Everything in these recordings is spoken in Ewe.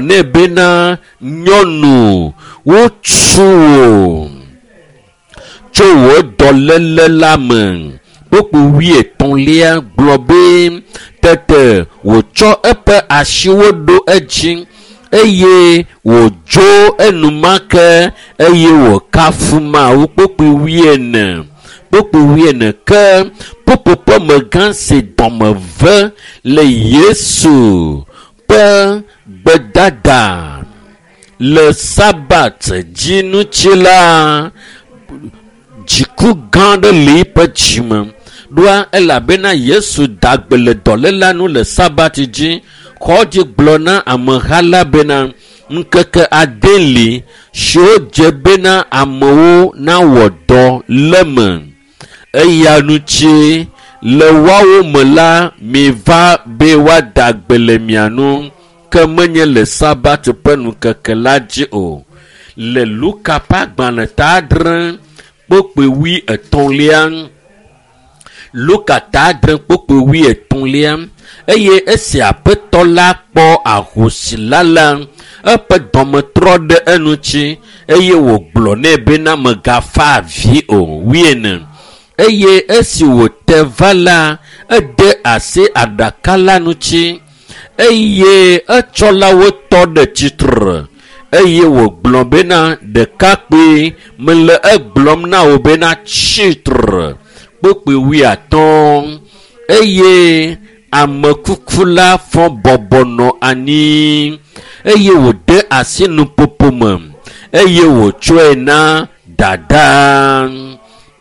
Nɛ bena, Nyɔnu, wotu wò tso wò dɔléle la me. Kpukpui wuietɔ̃lia gblɔ be, Tete wòtsɔ eƒe asiwo ɖo edzi, eye wòdzo enumake, eye wòkafu Mawu. Kpukpui wuiene. Kpukpui wuiene ke ƒuƒoƒemegã si dɔme ve le Yesu ƒe gbedada le Sabat dzi ŋuti la, dziku gã aɖe le eƒe dzime. Ɖoa elabena Yesu da gbe le dɔléla nu le Sabat dzi. Xɔdzi gblɔ na ameha la bena, ŋkeke ade li siwo dze bena amewo nawɔ dɔ le me. Eya ŋuti le woawo me la, miva be woada gbe le mia nu, ke menye le Sabat ƒe ŋkeke la dzi o. Le Luka ƒe agbalẽ ta adre kpukpui wuietɔ̃lia, Luka ta adre kpukpui wuietɔ̃lia, eye esi aƒetɔ la kpɔ ahosi la la, eƒe dɔme trɔ ɖe eŋuti eye wògblɔ nɛ bena megafa avi o. Wuiene. Eye esi wòte va la, ede asi aɖaka la ŋuti eye etsɔlawo tɔ ɖe tsitre eye wògblɔ bena, ɖekakpui, mele egblɔm na wò bena tsitre. Kpukpui wuiatɔ̃. Eye amekuku la fɔ bɔbɔ nɔ anyi eye wòde asi nuƒoƒo me eye wòtsɔe na dada.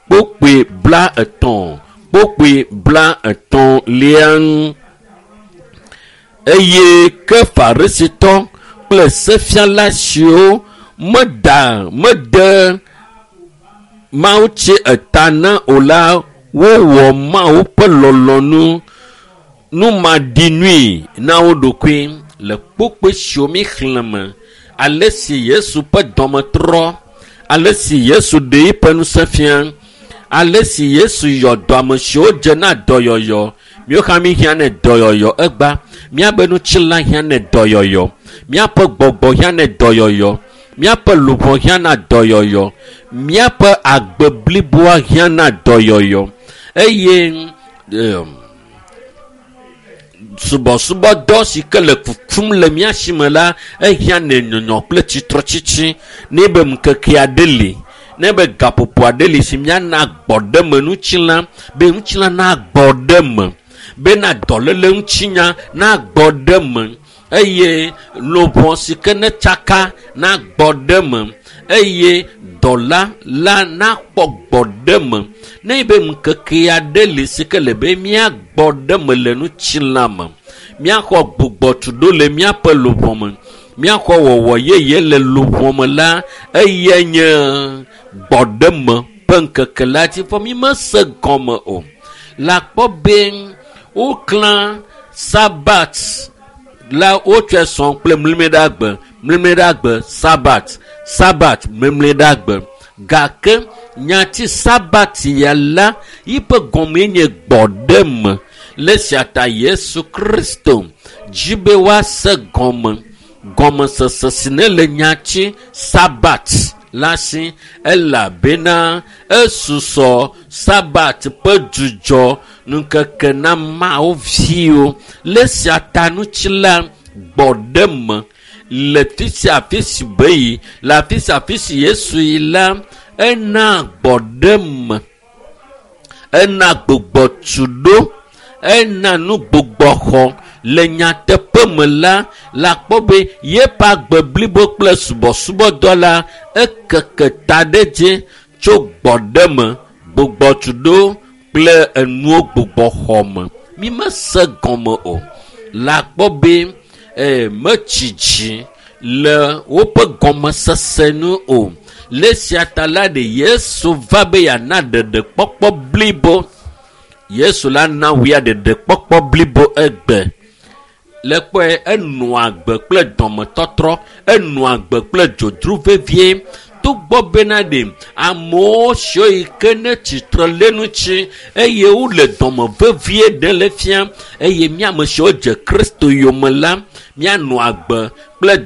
Kpukpui 30, kpukpui 33lia. Eye ke Farisitɔ kple sefiala siwo meda mede Mawu tsi eta na o la, wowɔ Mawu ƒe lɔlɔ̃nu numaɖinui na wo ɖokui le kpukpui siwo mi xlẽ me. Ale si Yesu ƒe dɔme trɔ, ale si Yesu ɖe eƒe ŋusẽ fia, ale si Yesu yɔ dɔ ame siwo dze na dɔyɔyɔ. Míawo hã míhiã ne dɔyɔyɔ egba. Míaƒe ŋutilã hiã ne dɔyɔyɔ. Míaƒe gbɔgbɔ hiã ne dɔyɔyɔ. Míaƒe luʋɔ hiã na dɔyɔyɔ. Míaƒe agbe bliboa hiã na dɔyɔyɔ. Eye subɔsubɔdɔ si ke le kukum le mía si me la, ehiã ne nyɔnyɔ kple tsitretsitsi. Ne be ŋkeke aɖe li, ne be gaƒoƒo aɖe li si míana gbɔɖeme ŋutilã, be ŋutilã nagbɔ ɖe me, bena dɔléle ŋutinya nagbɔ ɖe me, eye luʋɔ si ke ne tsaka nagbɔ ɖe me, eye dɔla la nakpɔ gbɔ ɖe me. Ne be ŋkeke aɖe li si ke le be míagbɔ ɖe me le ŋutilã me, míaxɔ gbugbɔtuɖo le míaƒe luʋɔ me, míaxɔ wɔwɔ yeye le luʋɔ me la, eyae nye gbɔɖeme ƒe ŋkeke la dzi. Vɔ mi mese gɔme o. Le akpɔ be woklã Sabat la, wotsɔe sɔ kple mlimɛɖagbe, mlimɛɖagbe, Sabat, Sabat, mlimɛɖagbe. Gake nyati Sabat ya la, yiƒe gɔmee nye gbɔɖeme. Le sia ta Yesu Kristo dzi be woase gɔme. Gɔmesese si ne le nyati Sabat la si, elabena esusɔ Sabat ƒe dzudzɔ ŋkeke na Mawu viwo. Le sia ta ŋuti la, gbɔɖeme le fi sia fi si be yi, le afi sia afi si Yesu yi la, ena gbɔɖeme, ena gbugbɔtuɖo, ena nu gbugbɔxɔ. Le nyateƒe me la, le akpɔ be yeƒe agbe blibo kple subɔsubɔdɔ la, ekeke ta ɖe dzi tso gbɔɖeme, gbugbɔtuɖo kple enuwo gbugbɔxɔ me. Mi mese gɔme o. Le akpɔ be metsi dzi le woƒe gɔmesese nu o. Le sia ta la ɖe Yesu va be yeana ɖeɖekpɔkpɔ blibo. Yesu la na wòya ɖeɖekpɔkpɔ blibo egbe. Le kpɔe, enɔa agbe kple dɔmetɔtrɔ, enɔa agbe kple dzodzro vevie. Togbɔ bena ɖe amewo siwo yi ke ne tsitre le ŋuti eye wole dɔme vevie ɖe le fia, eye mía ame siwo dze Kristo yome la, míanɔ agbe kple